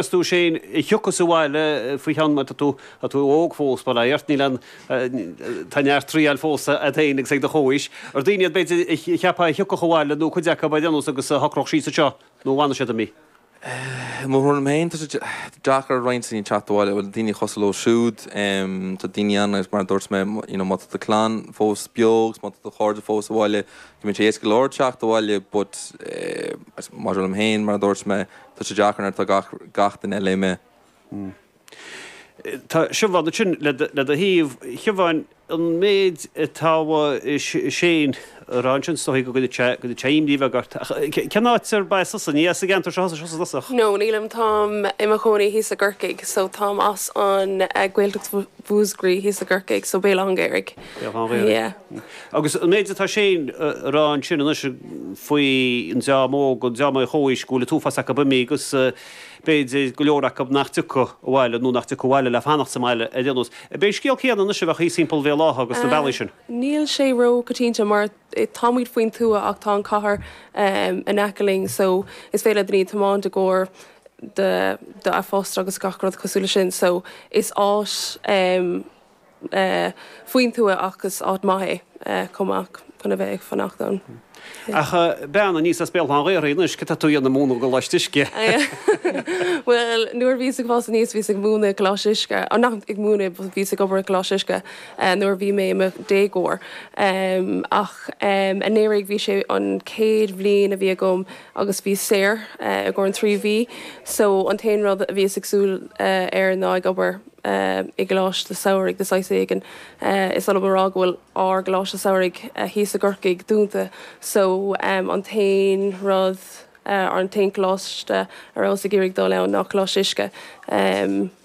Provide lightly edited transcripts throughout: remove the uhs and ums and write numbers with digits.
Meas tú Shane a thiocfas abhaile faoi cheann mar tá tú tá tú óg fós bail ó Dhia ort níl aon tá neart triail fós agat féin agus ag do chomhaois. Ar daoine iad b'fhéidir a cheapfá a thiocfadh abhaile nó cuid acu ar aon nós agus a shocródh síos anseo nó an bhfanfaidh siad imithe? I mo thuairim féin tá sé deacair ar roinnt daoine teacht abhaile, bhuel daoine cosúil leo siúd, tá daoine ann agus mar a dúirt mé you know má tá do chlann fós beo agus má tá do chairde fós abhaile go mbíonn sé éasca go leor teacht abhaile but maidir liom féin mar a dúirt mé Tá sé deacair nuair atá gach, gach duine eile imithe. Tá Siobhán ansin le do thaobh. Siobhán, an méid atá Shane a rá ansin, is dóigh go gcuirfidh sé, go gcuirfidh sé imní bheag ort. Ach cén áit arb as tusa? Ní as an gceantar seo thusa i dtosach? No, nílim. Táim i mo chónaí thíos i gCorcaigh. So táim as an Gaeltacht Mhúscraí thíos i gCorcaigh, so Béal Átha an Ghaorthaidh. Béal Átha an Ghaorthaidh. Yeah. Agus an méid atá Shane a rá ansin anois faoi an dream óg, an dream ar a chomhaois, go bhfuil an t-uafás acu imithe agus b'fhéidir go leor acu nach dtiocfadh abhaile nó nach dtiocfadh abhaile le fanacht sa mbaile ar aon nós. Ab é an scéal céanna anois a bheadh thíos thimpeall Bhéal Átha agus na bealaí sin? Níl sé ró-choitianta mar táimid faoin tuath ach tá an cathair in aice linn so is féidir le daoine tiomáint i gcomhair do do a phost agus gach rud cosúil leis sin so is áit faoin tuath ach is áit maith é chomh maith chun a bheith ag fanacht ann. Ach bean aníos as Béal Átha an Ghaorthaidh anois, cad tá tú a dhéanamh ag múineadh i gColáiste Uisce? Bhuel, nuair a bhíos ag fás aníos bhíos ag múineadh i gColáiste Uisce, oh nach ag múineadh but bhíos ag obair i gColáiste Uisce nuair a bhí mé i mo dhéagóir. Ach anuraidh bhí sé an chéad bhliain a bhí agam agus bhíos saor i gcomhair an 3 mhí so an t-aon rud a bhíos ag súil air ná ag obair i gcoláiste samhraidh de saghas éigin. Is oth liom a rá go bhfuil ár gcoláiste samhraidh thíos i gCorcaigh dúnta so an t-aon rud, an t-aon choláiste a rabhas ag iarraidh dul ann ná Coláiste Uisce.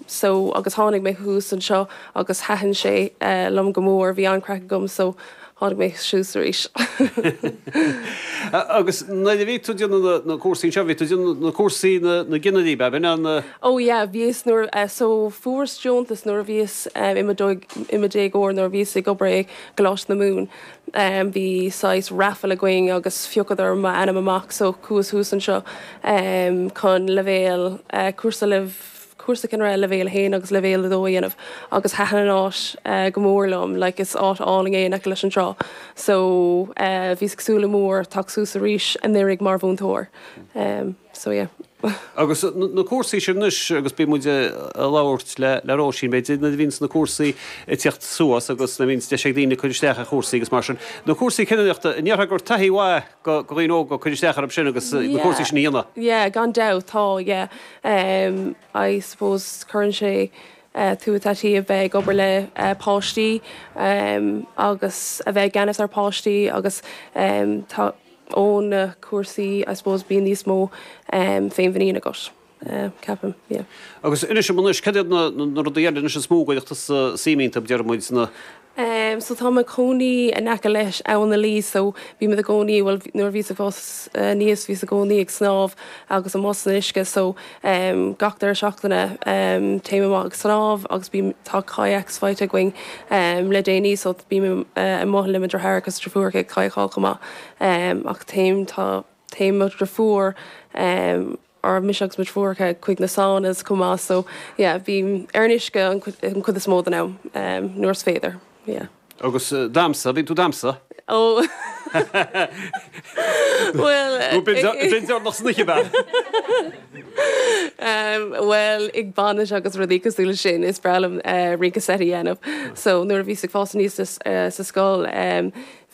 So agus tháinig mé thuas anseo agus thaitin sé liom go mór, bhí an-craic agam so tháinig mé suas arís. Agus nuair a bhí tú ag déanamh na cúrsaí anseo, bhí tú ag déanamh na cúrsaí na gcinnirí, ab in na. Oh yeah, bhíos nuair, so fuaireas deontas nuair a bhíos i mo i mo déagóir nuair a bhíos ag obair i gColáiste na Mumhan. Bhí saghas raffle againn agus phiocadar m'ainm amach so chuas thuas anseo chun leibhéal, cúrsa leibh. cúrsa cinnire leibhéal 1 agus leibhéal 2 a dhéanamh agus thaitin an áit go mór liom, like is áit álainn é in aice leis an trá so bhíos ag súil go mór teacht suas arís anuraidh mar mhúinteoir so yeah. Agus na cúrsaí sin anois agus bíonn muid ag labhairt le le Róisín b'fhéidir nuair a bhíonns na cúrsaí ag tíocht suas agus nuair a bhíonns deis ag daoine cur isteach ar chúrsaí agus mar sin, na cúrsaí cinnireachta, an ndéarfá gur taithí mhaith do dhaoine óga cur isteach orthu sin agus na cúrsaí sin a dhéanamh? Yeah, gan dabht, tá, yeah. I suppose cuireann sé tú i dtaithí a bheith ag obair le páistí agus a bheith i gceannas ar pháistí agus tá ó na cúrsaí I suppose bíonn níos mó féinmhuinín agat, ceapaim, yeah. Agus inis dom anois, cad iad na rudaí eile anois is mó a gcuirfeadh tusa suim iontu, deir muid, na. Em so tá mé i mo chónaí in aice leis Abhainn na Laoi so bímid i gcónaí, bhuel nuair a bhíos ag fás aníos bhíos i gcónaí ag snámh agus amuigh san uisce so em gach deireadh seachtaine em téim amach ag snámh agus bím, tá kayaks faighte againn em le déanaí so bím amuigh le mo dheartháir agus deirfiúracha ag kayakáil chomh maith em ach téim, tá, téann mo dheirfiúr em. or mise agus mo dheirfiúracha chuig na saunas chomh maith so yeah bím ar an uisce an chuid is mó den am nuair is féidir yeah. Agus damhsa, bíonn tú damhsa? Oh bhuel Nó b'in deireanach san oíche ab ea? Bhuel ag bainis agus rudaí cosúil leis sin is breá liom rince seit a dhéanamh so nuair a bhíos ag fás aníos sa scoil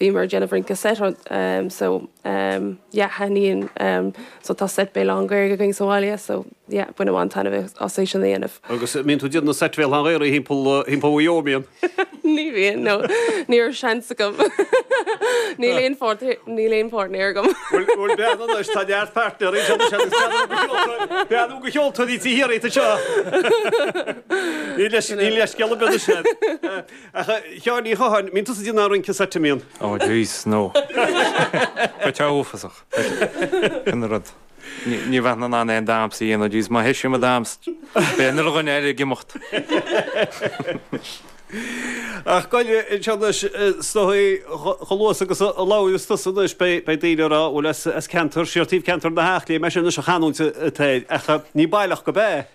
Bhíomar ag déanamh rince seit so yeah thaitníonn so tá seit Béal Átha an Ghaorthaidh againn sa bhaile so yeah bainim an-taitneamh as é sin a dhéanamh. Agus an mbíonn tú ag déanamh na seit Bhéal Átha an Ghaorthaidh thimpeall thimpeall Mhaigh Eo, an mbíonn? Ní bhíonn no ní raibh seans agam. Níl aon pháirt níl aon páirtnéir agam. Bhuel bhuel bean anois tá neart páirtnéirí anseo anois agus bean go cheoltóirí bean go cheoltóirí tí thiar anseo. Níl leis níl leithscéal ar bith anois. Ach a Sheáin Uí Chatháin, mbíonn tusa ag déanamh an rince seit, an mbíonn? Oh jeez, no. Beidh sé uafásach. Sin an rud. Ní bheinn in ann aon damhsa a dhéanamh, jeez, má thoisím ag damhsa, beidh an uile dhuine eile ag imeacht. Ach goile anseo anois, is dóigh, chomh luath agus a labhraíos tusa anois, beidh daoine ag rá, bhuel as ceantar, siar taobh ceantar na hEachléim, é sin anois an chanúint atá air, ach ní baileach gurb ea.